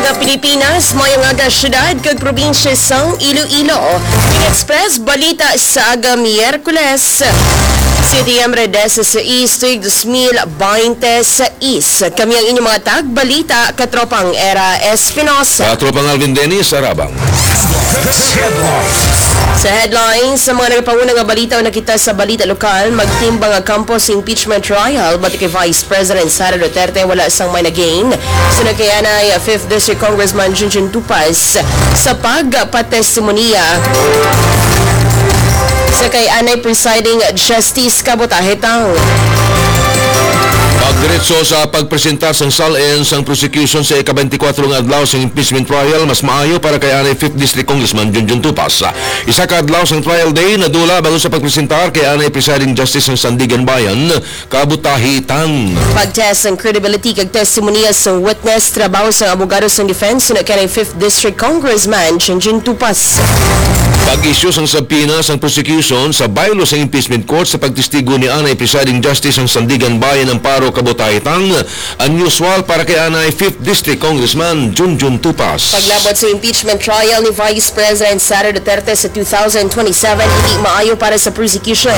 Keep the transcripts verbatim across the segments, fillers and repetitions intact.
Sa Pilipinas, maayong aga, syudad kag probinsya sang Iloilo. Ning Express Balita sa aga Miyerkules, Setyembre dieciséis, tuig dos mil bente sais. Kami ang inyong mga tagbalita, Katropang Era Espinosa. Katropang Alvin Dennis Arabang. Sa headlines, sa mga nagapanguna nga balita o nakita sa balita lokal, magtimbang nga kampo sa impeachment trial, bati kay Vice President Sara Duterte, wala sang may nagain. Sunod kay anay, Fifth District Congressman Junjun Tupas sa pagpatestimonya sa kay anay Presiding Justice Kabutahe Tang. Pagdiretso sa pagpresentar sang SALN sang prosecution sa ika-twenty-four nga adlaw sang impeachment trial, mas maayo para kay anay Fifth District Congressman Junjun Tupas. Isa ka adlaw sang trial day nadula bago sa pagpresentar kay anay Presiding Justice sang Sandiganbayan, Kabutahe Tang. Pag-test sang credibility kag testimonya sang witness, trabaho sang abogado sang defense, suno kay Fifth District Congressman Junjun Tupas. Pag-issue sang subpoena sang prosecution sa baylo sang impeachment court sa pagtestigo ni anay Presiding Justice sang Sandiganbayan, Amparo Kabutahe Tang, unusual para kay anay Fifth District Congressman Junjun Tupas. Paglabot sa impeachment trial ni Vice President Sara Duterte sa two thousand twenty-seven, hindi maayo para sa prosecution,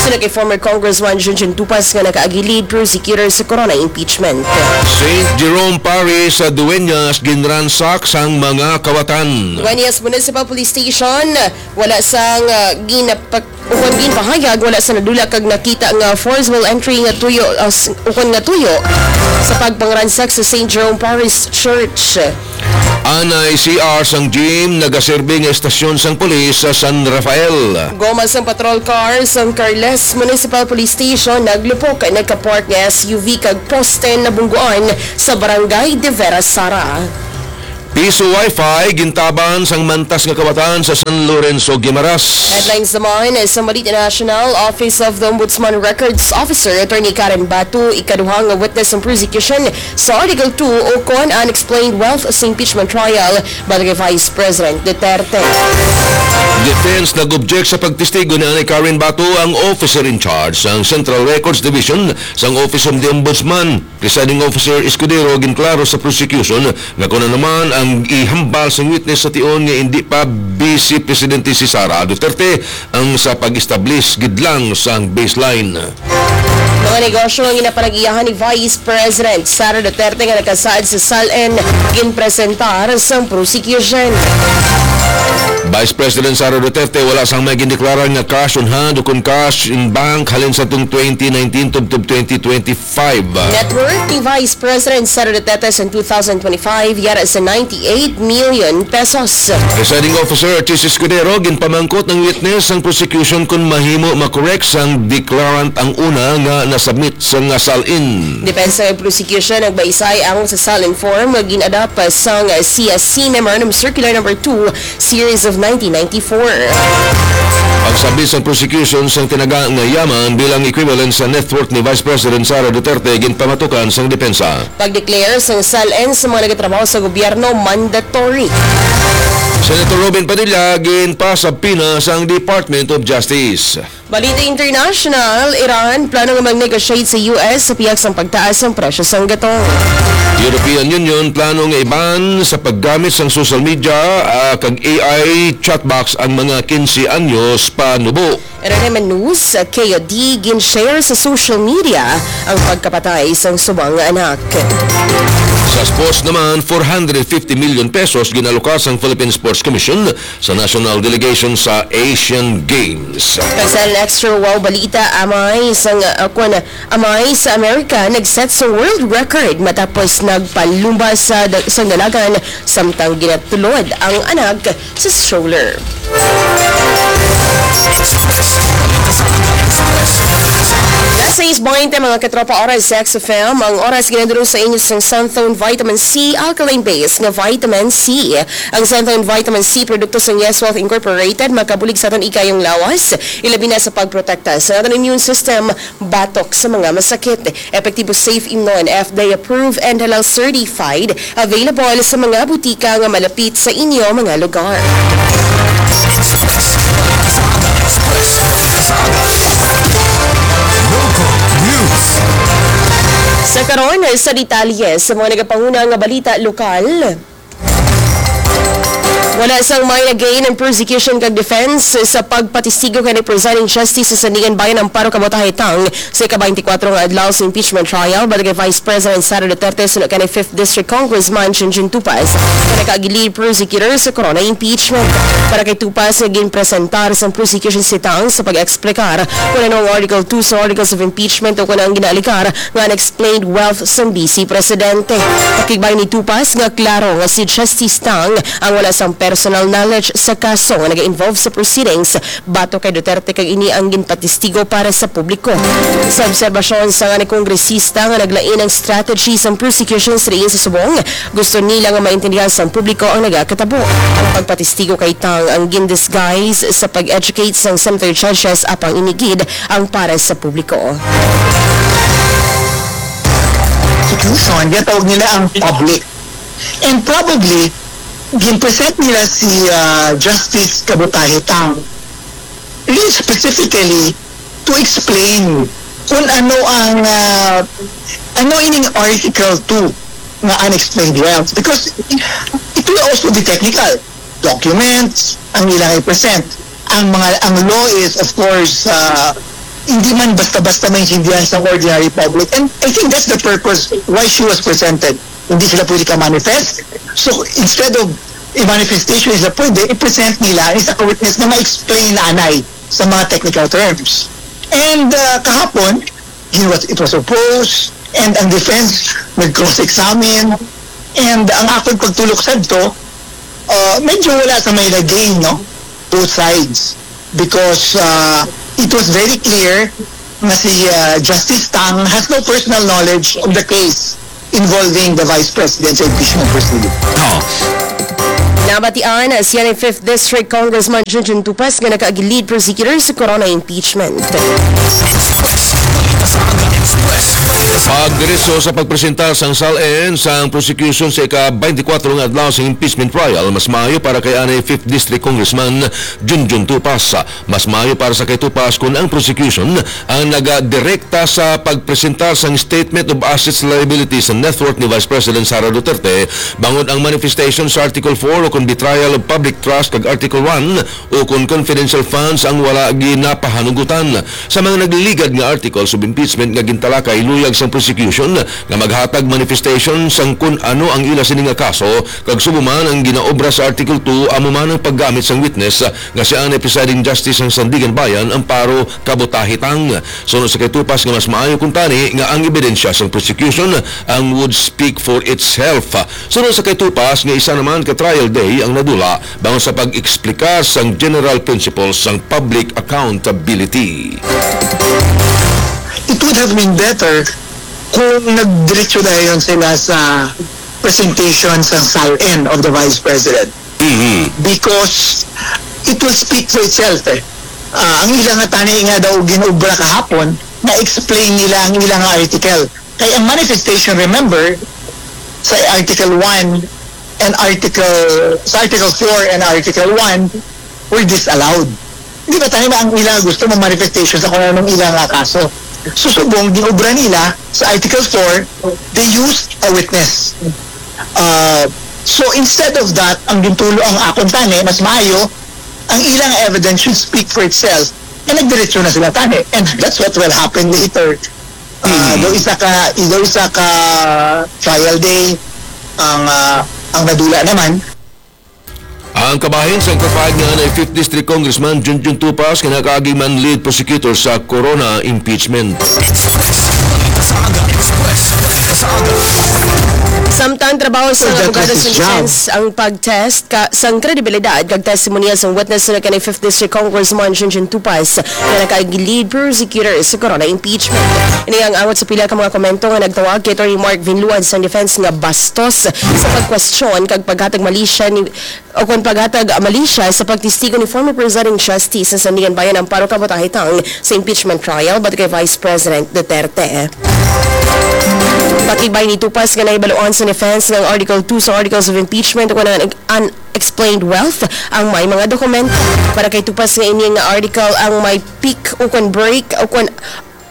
suno kay former Congressman Junjun Tupas nga nakaagi lead prosecutor sa corona impeachment. Saint Jerome Parish sa Dueñas, ginransak sang mga kawatan. Dueñas Municipal Police Station, wala sang, ah, ginapak-, ukon ginpahayag, wala sa nadula kag nakita nga forcible entry nga tuyo, ah, s-, ukon nga tuyo sa pagpangransak sa Saint Jerome Parish Church. Anay C R sang gym, nagaserbi nga estasyon sang pulis sa San Rafael. Goma sang patrol car sang Carles Municipal Police Station naglupok, nagkapark nga S U V kag poste nabungguan sa Barangay de Vera Sara. Piso Wi-Fi gintaban sang mantas nga kawatan sa San Lorenzo, Guimaras. Headlines naman sa Balita National, Office of the Ombudsman Records Officer Attorney Karen Batu, ikaduha nga witness sang prosecution sa Article two ukon unexplained wealth sa impeachment trial bati kay Vice President Duterte. Defense nag-object sa pagtestigo ni anay Karen Batu, ang officer in charge sang Central Records Division sang Office of the Ombudsman. Presiding Officer Escudero, ginklaro sa prosecution nga kon ano man ang ihambal sang witness sa tion nga indi pa Vice Presidente si Sara Duterte ang sa pag-establish gid lang sang baseline. Mga negosyo nga ginapanag-iyahan ni Vice President Sara Duterte nga nakasaad sa SALN ginpresentar sang prosecution. Vice President Sara Duterte wala sang may gindeklara nga cash on hand o kon cash in bank halin sa tung twenty nineteen tubtob twenty twenty-five. Net worth ni Vice President Sara Duterte sa two thousand twenty-five yara sa ninety-eight million pesos. Presiding Officer Chiz Escudero, ginpamangkot ang witness sang prosecution kon mahimo ma-correct sang declarant ang una nga na-submit sa nga SALN. Depensa nga prosecution nagbaisay ang sa SALN form nga gin-adapt sang C S C Memorandum Circular Number two, Series of nineteen ninety-four. Pagsabit sang prosecution sang tinaga nga yaman bilang equivalent sa net worth ni Vice President Sara Duterte, ginpamatukan sang depensa. Pag-declare sang SALN sa mga nagatrabaho sa gobyerno mandatory. Senator Robin Padilla, ginpasabpina sang Department of Justice. Balita international, Iran plano nga mag-negotiate sa U S sa pihak sang pagtaas sang presyo sang gatong. European Union plano nga i-ban sa paggamit sang social media, ah, kag A I chatbox ang mga quince anyos panubo. Iran News, K O D, gin-share sa social media ang pagkapatay sang subang nga anak. Sa sports naman, four hundred fifty million pesos ginalokar sang Philippine Sports Commission sa national delegation sa Asian Games. Kag sa extra wow balita, amay sang, uh, kwan, amay sa Amerika nag-set sa world record matapos nagpalumba sa da-, sang dalagan samtang ginatulod ang anak sa stroller. Nasa is point, mga katropa, oras sa X F M. Ang oras ginadulong sa inyo sang Santhone Vitamin C, alkaline base nga vitamin C. Ang Santhone Vitamin C, produkto sa Yes Wealth Incorporated, makabulig sa aton ikayong lawas, ilabi na sa pagprotekta sa aton immune system batok sa mga masakit. Epektibo, safe, imnon, F D A approved, and halal certified. Available sa mga butika nga malapit sa inyo mga lugar. Sa karon, sa detalye sa mga nagapanguna nga balita lokal. Wala sang may nag-gain ang prosecution kag defense sa pagpatistigo kay ni Presiding Justice sa Sandiganbayan Amparo Kabutahe Tang sa ika-twenty-four nga adlaw sa impeachment trial batok kay Vice President Sara Duterte suno kay ni fifth District Congressman Junjun Tupas nga nakaagi lead prosecutor sa corona impeachment. Para kay Tupas nga ginpresentar sang prosecution si Tang sa pag-explicar kung ano ang Article two sa Articles of Impeachment o kung ano ang ginaaligar nga unexplained wealth sang Vice Presidente. Pakigbahin ni Tupas nga klaro nga si Justice Tang ang wala sang personal knowledge sa kaso nga naga-involve sa proceedings batok kay Duterte kag ini ang ginpatistigo para sa publiko. Sa obserbasyon sang kongresista nga naglain ang strategy sang prosecution sa diin sa subong, gusto nila nga maintindihan sang publiko ang nagakatabo. Ang pagpatistigo kay Tang ang gin-disguise sa pag-educate sang senator judges, apang ini gid ang para sa publiko. Prosecution, ginatawag nila ang public. And probably, gin-present nila si ah, Justice Kabutahe Tang really specifically to explain kung ano ang ah, ano ining Article two nga unexplained wealth, because it will also be technical. Documents ang ilang i-present. Ang mga ang law is, of course, ah, hindi man basta-basta maintindihan sa ordinary public. And I think that's the purpose why she was presented. Hindi sila pwede ka-manifest. So, instead of a manifestation, sila pwede, i-present nila ang isa ka witness na ma-explain anay sa mga technical terms. And ah, kahapon, it was, it was opposed, and ang defense nag-cross-examine, and ang akon pagtulok sadto, ah, medyo wala sa may nag-gain, no? Both sides. Because ah, it was very clear na si ah, Justice Tang has no personal knowledge of the case involving the Vice President sa impeachment proceeding. Nabatian siya ni fifth District Congressman Junjun Tupas nga nakaagi lead prosecutor sa corona impeachment. Pagdiretso sa pagpresenta sang SALN sang prosecution sa ika-twenty-four nga adlaw sa impeachment trial, mas maayo para kay anay fifth District Congressman Junjun Tupas. Mas maayo para sa kay Tupas kon ang prosecution ang nagadirekta sa pagpresentar sang Statement of Assets, Liabilities and Net Worth ni Vice President Sara Duterte, bangod ang manifestation sa Article four o kon betrayal of public trust kag Article one o kon confidential funds ang wala ginapahanugutan. Sa mga nagliligad nga articles of impeachment nga gintalakay luyag sang prosecution nga maghatag manifestation sang kon ano ang ila sini nga kaso, kag subong man ang ginaobra sa Article two amo man ang paggamit sang witness nga si anay Presiding Justice sang Sandiganbayan Amparo Kabutahe Tang. Suno sa kay Tupas nga mas maayo kuntani nga ang ebidensya sang prosecution ang would speak for itself. Suno sa kay Tupas nga isa naman ka trial day ang nadula bangod sa pag-eksplika sang general principles sang public accountability. It would have been better kung nagdiretso dayon sila sa presentation sa SALN of the Vice President. Because it will speak for itself eh. Ah, ang ila nga tani nga daw ginobra kahapon, na-explain nila ang ila nga article. Kay ang manifestation, remember, sa Article one and Article, sa Article four and Article one were disallowed. Di ba tani ba ang ila gusto mo manifestation sa kung anong ila nga kaso? So subong, ginobra nila sa Article four, they used a witness. Uh, so instead of that, ang gintulo ang akon tani, mas maayo, ang ilang evidence should speak for itself, and nagdiretso na sila tani. And that's what will happen later. Uh, daw isa ka, daw isa ka trial day ang ah, ang nadula naman. Ang kabahin sa pagpahayag nga anay fifth District Congressman Junjun Tupas nga nakaagi man lead prosecutor sa corona impeachment. Samtang trabaho sa abogado sa defense ang pag-test ka sang kredibilidad kag testimonya sang witness na kay fifth District Congressman Junjun Tupas nga nakaagi lead prosecutor sa corona impeachment. Ini ang angot sa pila ka mga komento nga nagtawag kay Attorney Mark Vinluan sang defense nga bastos sa pagkwestiyon kag paghatag malisya ni o kon paghatag malisya sa pagtestigo ni former Presiding Justice sa Sandiganbayan Amparo Kabutahe Tang sa impeachment trial batok kay Vice President Duterte. Pakigbahin ni Tupas nga nahibaluan sa defense nga ang Article two sa Articles of Impeachment o kon ang unexplained wealth ang may mga dokumento. Para kay Tupas nga ini nga article ang may pick o kon break o kon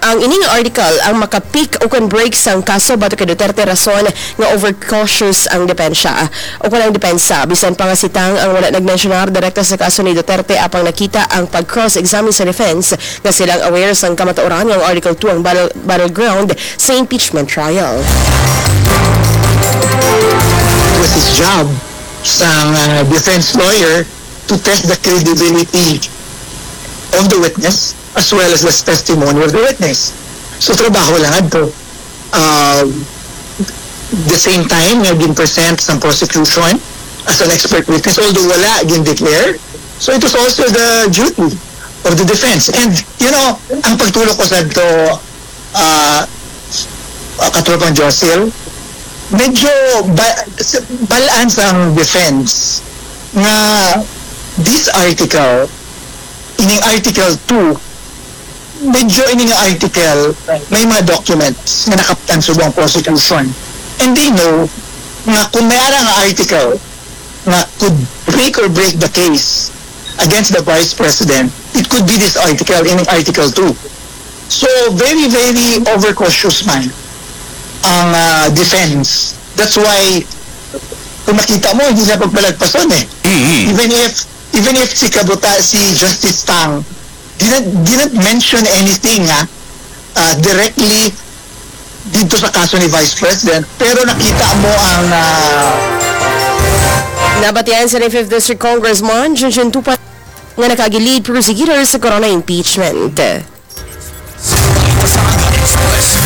Ang ining article ang maka-pick o kon break sang kaso batok kay Duterte, rason nga overcautious ang depensya o kon ang depensa. Bisan pa nga si Tang ang wala nagmensyonar direkta sa kaso ni Duterte, apang nakita ang pag-cross-examine sa defense nga sila ang aware sang kamatuoran nga ang Article two ang battle, battleground sa impeachment trial. It was his job sang uh, defense lawyer to test the credibility of the witness as well as the testimony of the witness. So, trabaho lang adto. Uh, the same time nga gin-present sang prosecution as an expert witness, although wala gin-declare. So, it was also the duty of the defense. And, you know, ang pagtulok ko sa to, uh, uh, Katropang Josil, medyo ba, s- balaan sang defense nga this article, ining Article two, medyo ini nga article may mga documents nga nakaptan subong prosecution. And they know nga kung may ara nga article nga could make or break the case against the vice president, it could be this article, in Article two. So, very, very overcautious man ang ah, defense. That's why, kung makita mo, hindi siya pagpalagpason eh. Even if, even if si Kabuta, si Justice Tang, didn't, didn't mention anything nga ah, directly dito sa kaso ni Vice President, pero nakita mo ang ah, Nabatian sa fifth District Congressman Junjun Tupas nga nakaagi lead prosecutor sa corona impeachment.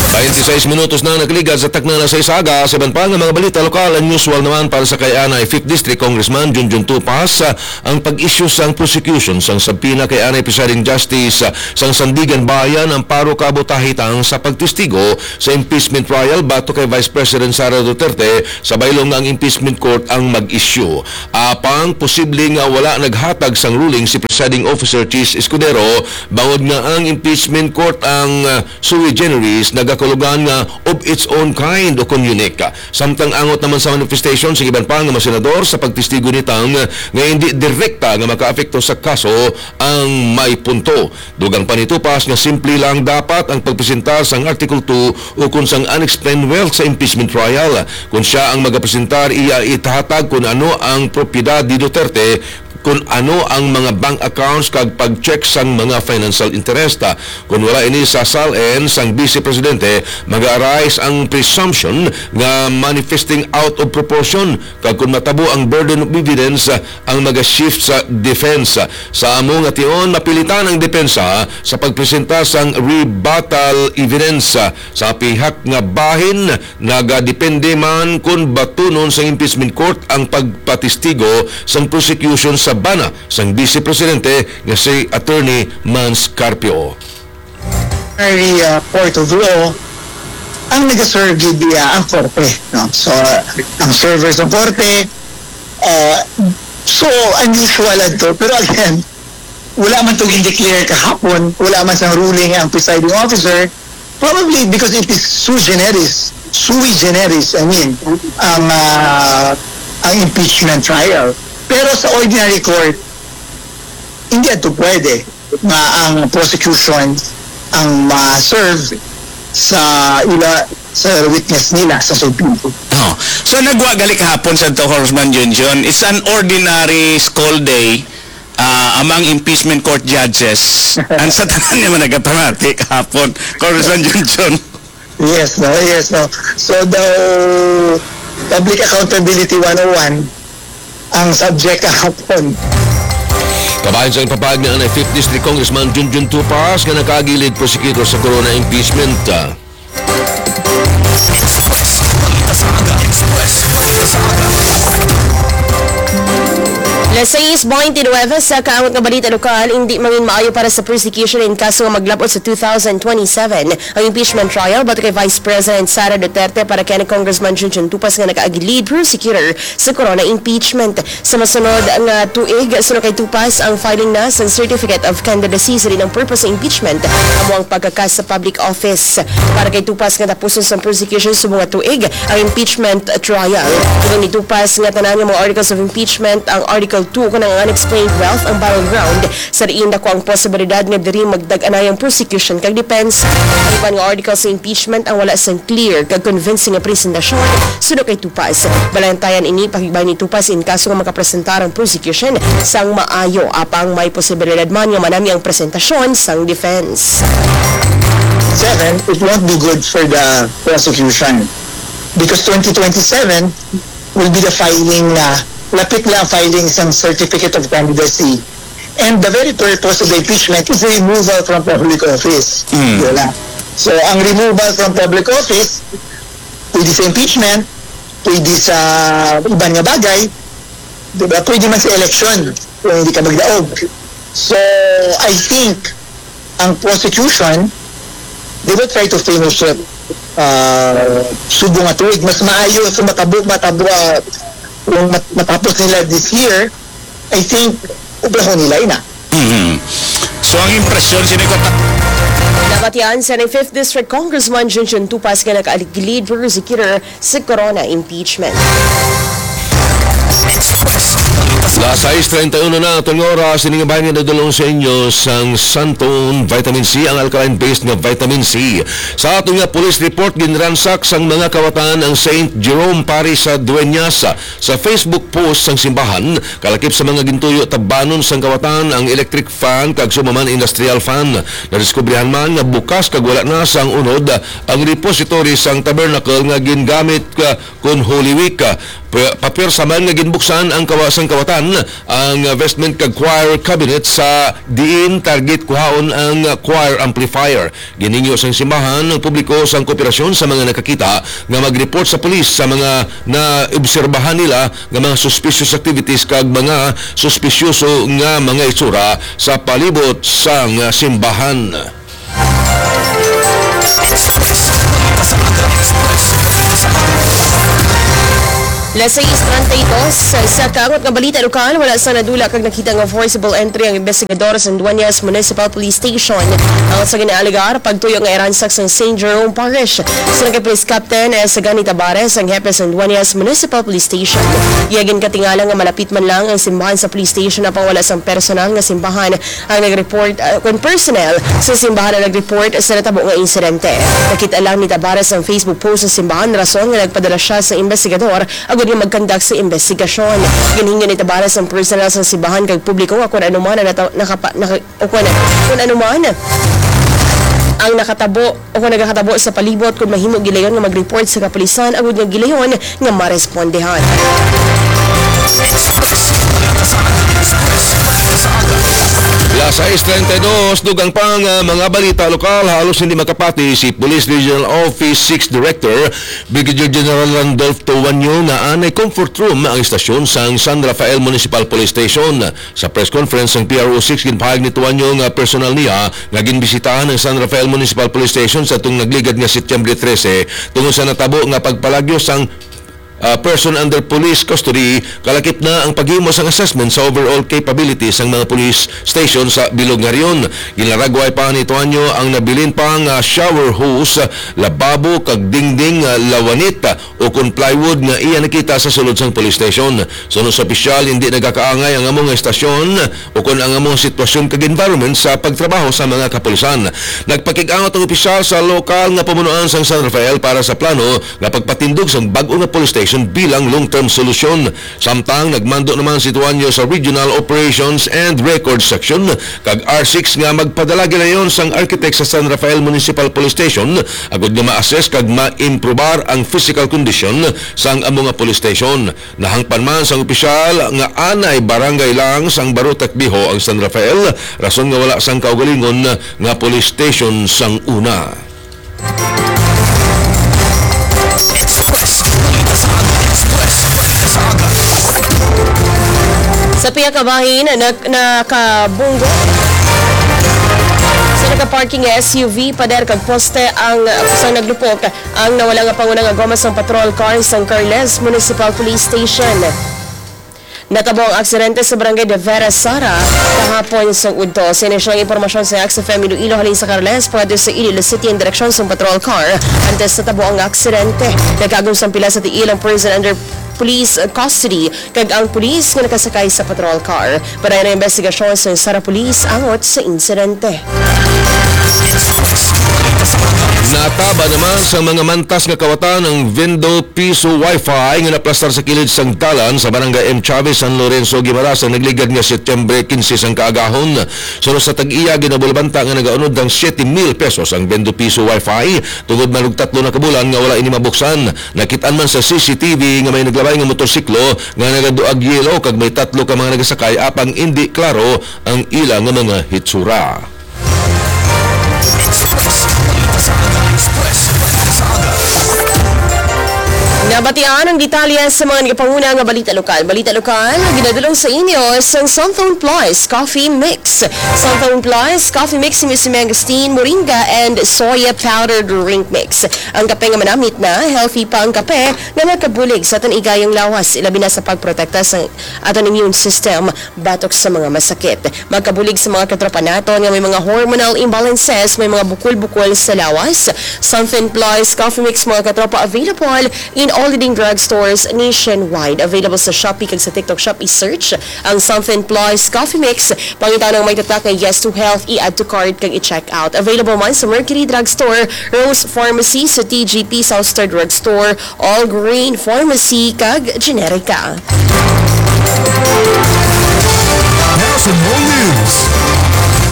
Twenty-six minutos na nagligad sa takna na sa isaga. Sa iban pa nga mga balita lokal, unusual naman para sa kay anay fifth District Congressman Junjun Tupas, ah, ang pag-issue sang prosecution sang subpoena kay anay Presiding Justice, ah, sang Sandiganbayan, Amparo Cabo Tahitang, sa pagtestigo sa impeachment trial batok kay Vice President Sara Duterte, sa baylo nga ang impeachment court ang mag-issue. Apang posible nga wala naghatag sang ruling si Presiding Officer Chiz Escudero, bangod nga ang impeachment court ang, ah, sui generis, nagakulugan nga of its own kind o kon unique. Samtang angot naman sa manifestation sa iban pa nga mga senador sa pagtestigo ni Tang nga hindi direkta nga makaapekto sa kaso ang may punto. Dugang pa ni Tupas nga simple lang dapat ang pagpresentar sang Article two o kon sang unexplained wealth sa impeachment trial. Kon sia ang magapresentar, iya itahatag kon ano ang propiedad ni Duterte, kon ano ang mga bank accounts kag pag-check sang mga financial interest. Kon wala ini sa SALN sang Vice Presidente, mag-arise ang presumption nga manifesting out of proportion, kag kon matabo ang burden of evidence, ang maga-shift sa defense. Sa amo nga tion, mapilitan ang depensa sa pagpresenta sang rebuttal evidence. Sa pihak nga bahin, nagadepende man kon batunon sang impeachment court ang pagpatestigo sang prosecution sa bana sang Vice Presidente nga si Attorney Mans Carpio. Ordinary uh, court of law ang nagaserve gid niya ang korte, no? So, uh, ang server sa korte, uh, so unusual adto. Pero again, wala man to gin-declare kahapon, wala man sang ruling ang presiding officer, probably because it is sui generis, sui generis, I mean, ang uh, ang impeachment trial. Pero sa ordinary court, hindi ato pwede nga ang prosecution ang ma-serve sa ila sa witness nila sa Supreme Court. Oh. So nagwa gali kahapon sa to, Congressman Junjun. It's an ordinary school day uh, among impeachment court judges. Ang sa tanan niya man nagapamati kahapon, Congressman Junjun. Yes, no, yes, no. So daw Public Accountability one oh one ang subject kahapon. Kabahin sa ipapahayag ni anay fifth District Congressman Junjun Tupas nga nakaagi lead prosecutor sa corona impeachment. Las sais beintinuebe sa kaangot nga balita lokal, hindi mangin maayo para sa prosecution in kaso nga maglab-ot sa two thousand twenty-seven ang impeachment trial batok kay Vice President Sara Duterte para kay Congressman Junjun Tupas nga nakaagi lead prosecutor sa corona impeachment. Sa masunod nga tuig, suno kay Tupas ang filing na sang Certificate of Candidacy sa dinang purpose sa impeachment amo ang pagkakas sa public office. Para kay Tupas nga tapuson sang prosecution subong nga tuig ang impeachment trial. Tungod ni Tupas nga tanan nga mga articles of impeachment, ang Article two Ang unexplained wealth ang battleground, sa diin dako ang posibilidad nga diri magdag-anay ang prosecution kag defense. Ang iban nga article sa impeachment ang wala sang clear kag convincing nga presentasyon suno kay Tupas. Balantayan ini, pakigbahin ni Tupas in kaso nga makapresentar ang prosecution sang maayo, apang may posibilidad man nga manami ang presentasyon sang defense. Seven, it won't be good for the prosecution because twenty twenty-seven will be the filing na lapit na ang filing sang certificate of candidacy. And the very purpose of the impeachment is removal from public office. Mm. Yun lang. So, ang removal from public office, pwede sa impeachment, pwede sa iban nga bagay, di ba? Pwede man sa election kung hindi ka magdaog. So, I think ang prosecution, they will try to finish it uh, subong nga tuig. Mas maayo sa matabo, matabo, uh, kung mat- matapos nila this year, I think, obrahon nila ina. Mhm. So ang impresyon sini ko ta- Nabatian sa ni fifth District Congressman Junjun Tupas nga naka-lead prosecutor sa corona impeachment. Las sais treinta y uno na atong oras, ini nga bahin nga nadulong sa inyo sang Santon Vitamin C, ang alkaline-based nga vitamin C. Sa ato nga police report, ginransak sang mga kawatan ang Saint Jerome Parish sa Dueñas. Sa Facebook post sang simbahan, kalakip sa mga gintuyo tabanon sang kawatan ang electric fan kag sumaman industrial fan. Nadiskubrihan man nga bukas kag wala na sang unod ang repository sang tabernacle nga gingamit ka kon Holy Week. Pa- Papwersa man nga ginbuksan ang kawa sang kawatan ang vestment kag choir cabinet sa diin target kuhaon ang choir amplifier. Ginhingyo sang simbahan ang publiko sang kooperasyon sa mga nakakita nga mag-report sa pulis sa mga naobserbahan nila nga mga suspicious activities kag mga suspisyoso nga mga itsura sa palibot sang simbahan. Las sais treinta y dos, sa kaangot nga balita lokal, wala sa nadula kag nakita nga forcible entry ang investigador sa Dueñas Municipal Police Station. Ang sa ginaalegar, pagtuyo nga iransak sang Saint Jerome Parish. Sa kay Police Captain S. Gani Tabares, ang hepe sa Dueñas Municipal Police Station. Iya ginkatingala nga malapit man lang ang simbahan sa police station, apang wala sang personal nga simbahan ang nag-report, ah, kon personnel sa simbahan ang nag-report sa natabo nga insidente. Nakita lang ni Tabares ang Facebook post sa simbahan, rason nga nagpadala siya sa investigador agud nga mag-conduct sa investigasyon. Ginhingyo ni Tabares ang personnel sa simbahan kag publiko nga kon ano man ang nata- nakapa- naka- o kon, kon ano man ang nakatabo o kon nagakatabo sa palibot, kon mahimo, gilayon nga mag-report sa kapulisan agud nga gilayon nga marespondehan. Las sais treinta y dos, dugang pa nga mga balita lokal, halos hindi makapati si Police Regional Office six Director Brigadier General Randolph Tuanyo nga anay comfort room ang estasyon sang San Rafael Municipal Police Station. Sa press conference sang P R O six, ginpahayag ni Tuanyo nga personal niya nga ginbisitahan ang San Rafael Municipal Police Station sa atong nagligad nga Setyembre trese tungod sa natabo nga pagpalagyo sang ah, person under police custody, kalakip na ang paghimo sang assessment sa overall capability sang mga police station sa bilog nga rehiyon. Ginlaragway pa ni Tuanyo ang nabilin pa nga shower hose, lababo kag dingding nga lawanit o kon plywood nga iya nakita sa sulod sang police station. Suno sa opisyal, hindi nagakaangay ang amo nga estasyon o kon ang amo nga sitwasyon kag environment sa pagtrabaho sa mga kapulisan. Nagpakig-angot ang opisyal sa lokal nga pamunuan sang San Rafael para sa plano nga pagpatindog sang bag-o nga police station bilang long-term solusyon. Samtang nagmando naman si Tuanyo sa Regional Operations and Records Section kag R six nga magpadala gilayon sang architect sa San Rafael Municipal Police Station agud nga ma-assess kag maimprobar ang physical condition sang amo nga police station. Nahangpan man sang opisyal nga anay barangay lang sang Barotac Viejo ang San Rafael, rason nga wala sang kaugalingon nga police station sang una. Sa pihak nga bahin, na, nakabunggo sa nakaparking nga S U V, pader kag poste ang, sa naglupok ang nawala nga panguna nga goma sang patrol car sang Carles Municipal Police Station. Natabo ang aksidente sa Barangay de Vera Sara kahapon sang udto. Sa inisyal nga impormasyon sa X F M Iloilo halin sa Carles, pwede sa Iloilo City ang direksyon sang patrol car. Antes natabo ang aksidente, nagkaagom sang pila sa tiil ang person under police custody kag ang pulis nga nakasakay sa patrol car. Padayon ang investigasyon sa Sara Police angot sa insidente. Nataba naman sa mga mantas nga kawatan ang Vendo Piso Wi-Fi nga naplastar sa kilid sang dalan sa Barangay M Chavez, San Lorenzo, Guimaras ang nagligad nga Setyembre quince sang kaagahon. Suno sa tag-iya, ginabulabanta nga nagaunod ang siete mil pesos ang Vendo Piso Wi-Fi tungod man og tatlo na ka bulan nga wala ini mabuksan. Nakit-an man sa C C T V nga may naglabay nga motorsiklo nga nagaduag yelo kag may tatlo ka mga nagasakay, apang indi klaro ang ila nga mga hitsura. Nabatian ang detalye sa mga nagapanguna nga balita lokal. Balita lokal, ginadulong sa inyo sang Santhon Plus Coffee Mix. Santhon Plus Coffee Mix, may si mangosteen, moringa, and soya powder drink mix. Ang kape nga manamit na, healthy pa ang kape nga makabulig sa aton igayong lawas, ilabi na sa pagprotekta sa aton immune system batok sa mga masakit. Makabulig sa mga katropa naton nga may mga hormonal imbalances, may mga bukol-bukol sa lawas. Santhon Plus Coffee Mix, mga katropa, available in all leading drugstores nationwide. Available sa Shopee kag sa TikTok Shop. I-search ang Santhon Plus Coffee Mix. Pangita ng may tatak nga Yes to Health, i-add to cart kag i-check out. Available man sa Mercury Drugstore, Rose Pharmacy, sa T G P, South Star Drugstore, All Green Pharmacy, kag Generica. National News.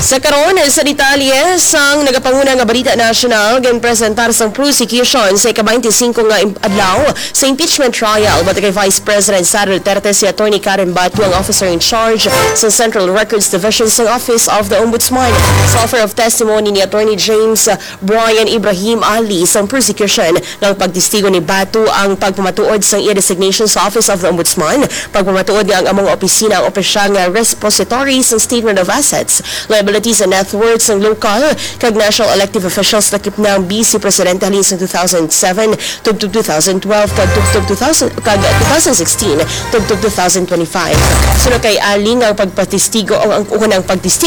Sa karon, sa detalye sang nagapanguna nga balita nasyonal, ginpresentar sang prosecution sa ika-twenty-five nga im-, adlaw sa impeachment trial batok kay Vice President Sara Duterte si Attorney Karen Batu, ang officer in charge sa Central Records Division sang Office of the Ombudsman. Sa offer of testimony ni Attorney James Brian Ibrahim Ali sang prosecution, nga ang pagtestigo ni Batu ang pagpamatuod sang iya designation sa Office of the Ombudsman, pagpamatuod nga ang among opisina ang opisyal nga repository sang Statement of Assets, Liabilities and Net Worth sang local kag national elective officials, lakip na ang Vice Presidente halin sang two thousand seven tubtob two thousand twelve kag tubtob two thousand, kag two thousand sixteen tubtob two thousand twenty-five. Suno kay Ali, nga ang pagpatestigo o ang, o ang pagtestigo